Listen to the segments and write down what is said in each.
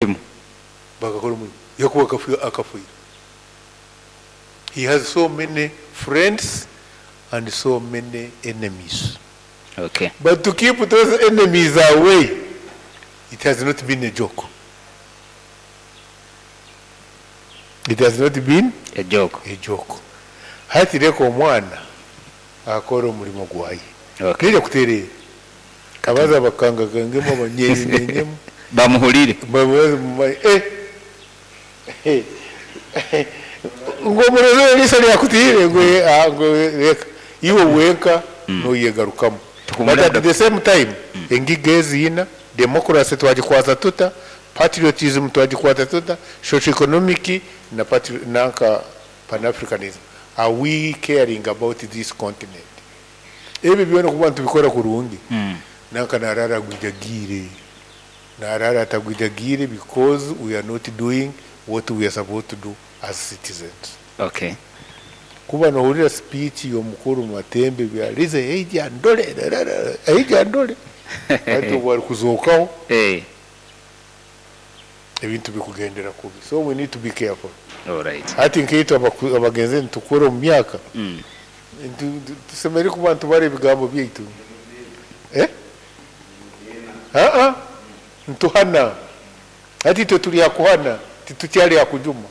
Omurimo. Bakakora omurimo. Yakuba akafiire. He has so many friends and so many enemies. Okay. But to keep those enemies away, it has not been a joke. It has not been A joke. a joke. Hati reka omwana akore omurimo gwaye. Okay. Naija kutereera. Abaza bakangakangemu abanyenyenyemu. Bamuhurire. Bamubaze mumanye eh eh ngu omurozi eriisho ryakutiire ngu ah ngu reka iwe wenka noyegarukamu. But at the same time engiga ezi ina, democracy twagikwata tuta, patriotism twagikwata tuta, socio economic na patri nanka Pan Africanism are we caring about this continent? Ebi byona kuba nitubikora kurungi nanka naraara agwijagiire, naraara atagwijagiire because we are not doing what we are supposed to do as citizens. Okay. Kuba nohurira speech yomukuru Matembe byarize eija andore rarara eija andore hati obu arikuzookaho Eh. ebintu bikugendera kubi so we need to be careful. Alright. Hati nkaitwe abagenzire nitukura omu myaka tusemeriire kuba nitubara ebigambo byaitu. Eh? Aa nituhana. Hati itwe turi aha kuhana titukyari aha kujuma.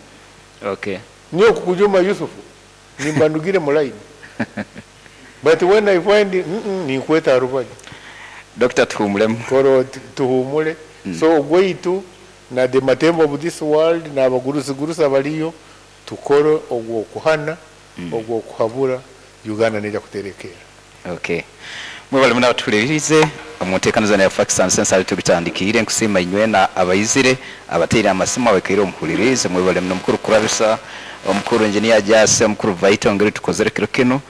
Okay. Nyowe kukujuma Yusuf nimba ndugire mu line but when I find mm ninkweta aha rubaju. Dokita tuhuumuremu. Kora oti tuhuumure. So ogwaitu na the Matembe of this world na abagurusi gurusi abariyo tukore ogw'okuhana, ogw'okuhabura Uganda neija kuterekeera. Okay. Mwebale muno abatuhuririize omu nteekaniza enu eya Facts and Sense ahu tugitandikiire. Nkusiima inywena abaizire, abateire amasimu, abaikaire omu muhuririize. Mwebale muno Mukuru Kurabisa, Omukuru Engineer Jasi, Omukuru Vaito engeri tukozere kiro kinu.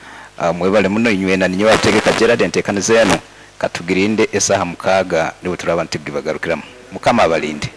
Mwebale muno inywena. Ninyowe Ategeka Gerald enteekaniza enu katugirinde esaaha mukaaga nibwo turaaba nitugibagarukiramu. Mukama abalinde.